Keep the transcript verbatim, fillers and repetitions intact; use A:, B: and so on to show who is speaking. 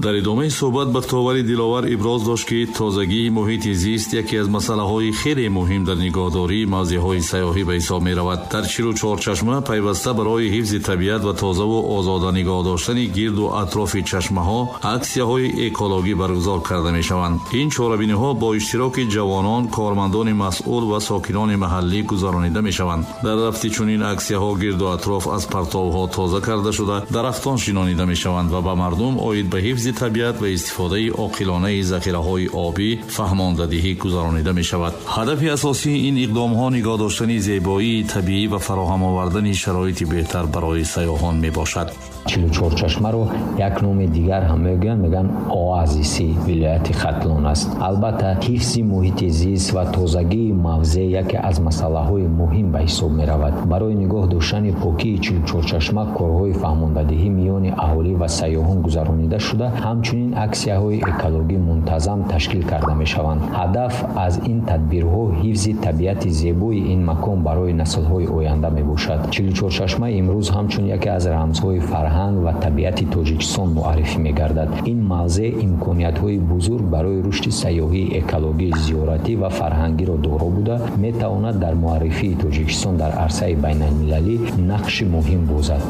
A: Дар идомаи суҳбат Бахтовари Диловар иброз дошт, ки тозагии муҳити зист яке аз масъалаҳои хеле муҳим дар нигоҳдории мавзеъҳои сайёҳӣ ба ҳисоб меравад. Дар чилу чор чашма пайваста барои ҳифзи табиат ва тозаву озода нигоҳ доштани гирду атрофи чашмаҳо аксияҳои экологӣ баргузор карда мешаванд. Ин чорабиниҳо бо иштироки ҷавонон, кормандони масъул ва сокинони маҳаллӣ гузаронида мешаванд. Дар рафти чунин аксияҳо гирду атроф аз партовҳо тоза карда шуда, дарахтон шинонида мешаванд ва ба мардум оид ба ҳифзи табиат ва истифодаи оқилонаи захираҳои обӣ фаҳмондадиҳӣ гузаронида мешавад. Ҳадафи асосии ин иқдомҳо нигоҳ доштани зебоии табиӣ ва фароҳам овардани шароити беҳтар барои сайёҳон мебошад.
B: Чилу чор чашмаро як номи дигар ҳам мегӯянд, мегӯянд оазиси вилояти Хатлон аст. Албатта, ҳифзи муҳити зист ва тозагии мавзеъ яке аз масъалаҳои муҳим ба ҳисоб меравад. Барои нигоҳ доштани покии чилу чор чашма корҳои фаҳмондадиҳӣ миёни аҳолӣ ва сайёҳон гузаронида шуда, ҳамчунин аксияҳои экологӣ мунтазам ташкил карда мешаванд. Ҳадаф аз ин тадбирҳо ҳифзи табиати зебои ин макон барои наслҳои оянда мебошад. Чилу чор чашма имрӯз ҳамчун яке аз рамзҳои фарҳанг ва табиати Тоҷикистон муаррифӣ мегардад. Ин мавзеъ имкониятҳои бузург барои рушди сайёҳии экологӣ, зиёратӣ ва фарҳангиро доро буда, метавонад дар муаррифии Тоҷикистон дар арсаи байналмилалӣ нақши муҳим бозад.